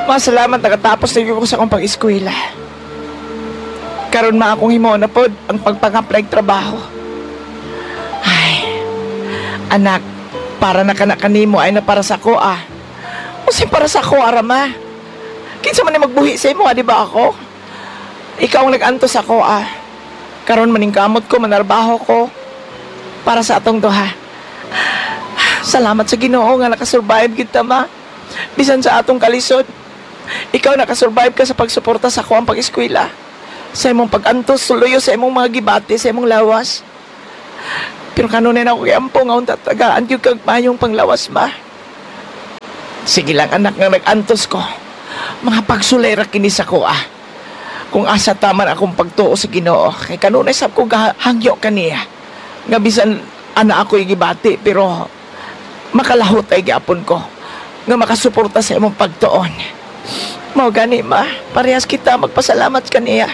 Masalamat nakatapos na ko sa akong pag-eskwela. Karon ma, akong himuon na pod ang pagpang-apply trabaho. Ay, anak, para na kana kanimo ay na para sa ako ah. Unsay para sa ako ara, ma? Kinsa man ni magbuhi sa imo, ah, di ba ako? Ikaw ang nag-antos ako ah. Karon maningkamot ko, manarbaho ko para sa atong duha. Salamat sa Ginoo nga nakasurvive kita, ma. Bisan sa atong kalisod. Ikaw, nakasurvive ka sa pagsuporta sa ako ang pag-eskwela. Sa imong pag-antos, suluyo sa imong mga gibati, sa imong lawas. Pero kanunay na ako giampo nga unta tagaan gyud kag mayong panglawas, ma. Sige lang, anak, nga nag-antos ko. Mga pagsulay ra kini sa ko ah. Kung asa taman akong pagtuo sa Ginoo, kay kanunay sab ko gahangyo kaniya. Nga bisan ana ako gibati, pero makalahot ay gyapon ko nga makasuporta sa imong pagtuon. Mao gani, ma, parehas kita magpasalamat kaniya.